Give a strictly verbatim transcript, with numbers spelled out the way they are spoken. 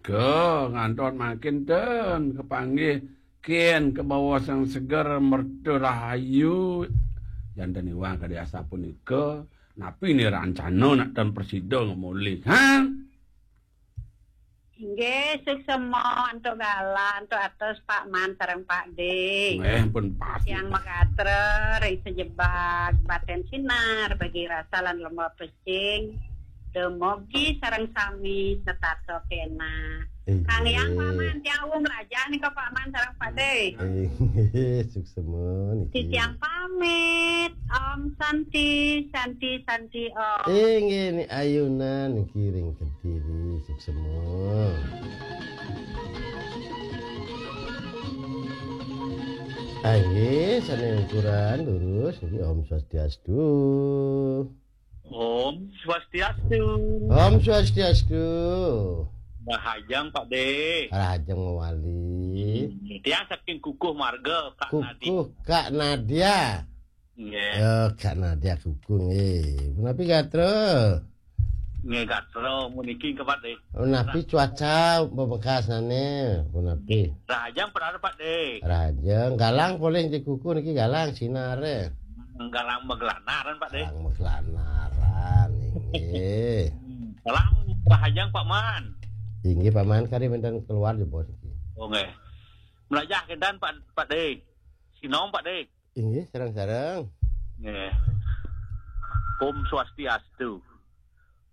Ke, ngantos mangkin ten kepanggih kin ke bawa sang seger merta rahayu. Janten iwang kadi asapunika, napi ni rancana nak ten prasida ngemulih, ha? Inggih, suksema antuk galah, antuk atos Pak Man sareng Pak De. Nggih, pun pasti. Tiang magatra ring sajebag baten sinar, bagi rasa lan lembah pesing, dumugi sareng sami setata kena. Inggih. Kang Yang Pak Man, tiang uwung mlajah nika Pak Man sareng Pak De. Inggih, suksema niki. Titiang pamit. Om Santi, Santi, Santi, Om. Inggih, ni ayunan niki ring Kediri, suksema. Inggih, sane ukuran lurus niki. Om Swastiastu. Om Swastiastu. Om Swastiastu. Rahajeng Pak De. Rahajeng mawali. Tiang saking Kukuh Marga, Kak Nadi. Kukuh, Kak Nadia. Nggih. Ya, Kak Nadia Kukuh nggih. Punapi gatra? Nggih, gatra puniki nggih, Pak De. Punapi cuaca pamekasane? Punapi? Rahajeng parara, Pak De. Rahajeng, galang polih di Kukuh niki galang sinare. Galang maglanaran, Pak De. Galang maglanaran, inggih. Galang rahajeng, Pak Man. Inggih, Pak Man, kari wenten keluar ya, Bos. Oh, nggih. Mlajah kinten, Pak, Pak De. Sinom, Pak De. Inggih, sareng-sareng. Nggih. Om Swastiastu.